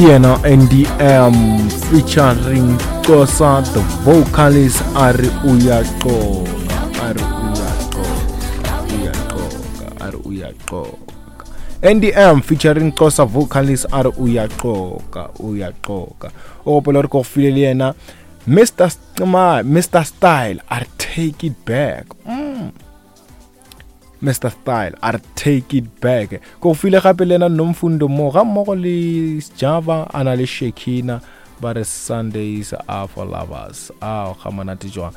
Ke yena NDM featuring Xhosa the vocalist a re o ya qoka, a re o ya qoka, o ya qoka, a re o ya qoka. NDM featuring Xhosa vocalist a re o ya qoka, o ya qoka. O gopola gore ke go file le yena Mr. Mr. Style a re take it back. Mm. Mr Style a re take it back ke go file gape le ena Nomfundo mo ga mmogo le Java a na le Shekina ba re Sundays are for lovers a ga monate jwang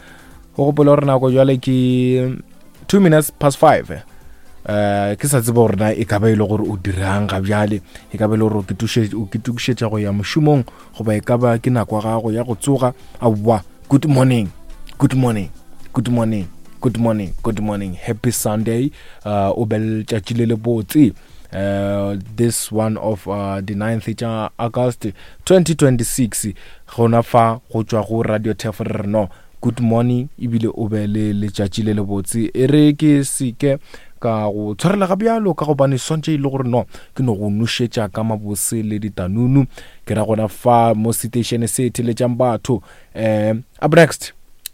go gopola gore nako jwale ke 2 minutes past 5 eh ke sa tsebe gore na e ka ba e le gore o dirang ga bjale e ka ba e le gore o ketokišetša go ya mošomong goba e ka ba ke nako ya gago ya go tsoga aowa good morning good morning good morning good morning good morning happy sunday uh, o be letšatši le le botse uh, this one of uh, the 9th tša august 2026 gona fa go tšwa go radio tef re no good morning ebile o be le letšatši le lebotse e re ke seke ka go tshwarela ga bjalo ka gobane swantše e le gore no ke no go nošetša ka mabose le ditanunu ke ra gona fa mo seteišene se theletšang batho um up next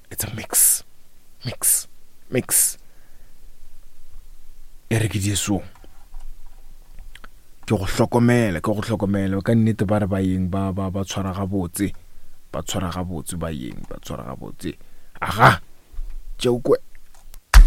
it's a mix mix mix e re ke jesu ke go hlokomela ke go hlokomela ka nnete ba re ba yeng ba ba ba tshwara gabotse ba tshwara gabotse ba yeng ba tshwara gabotse aga tšeo kwe.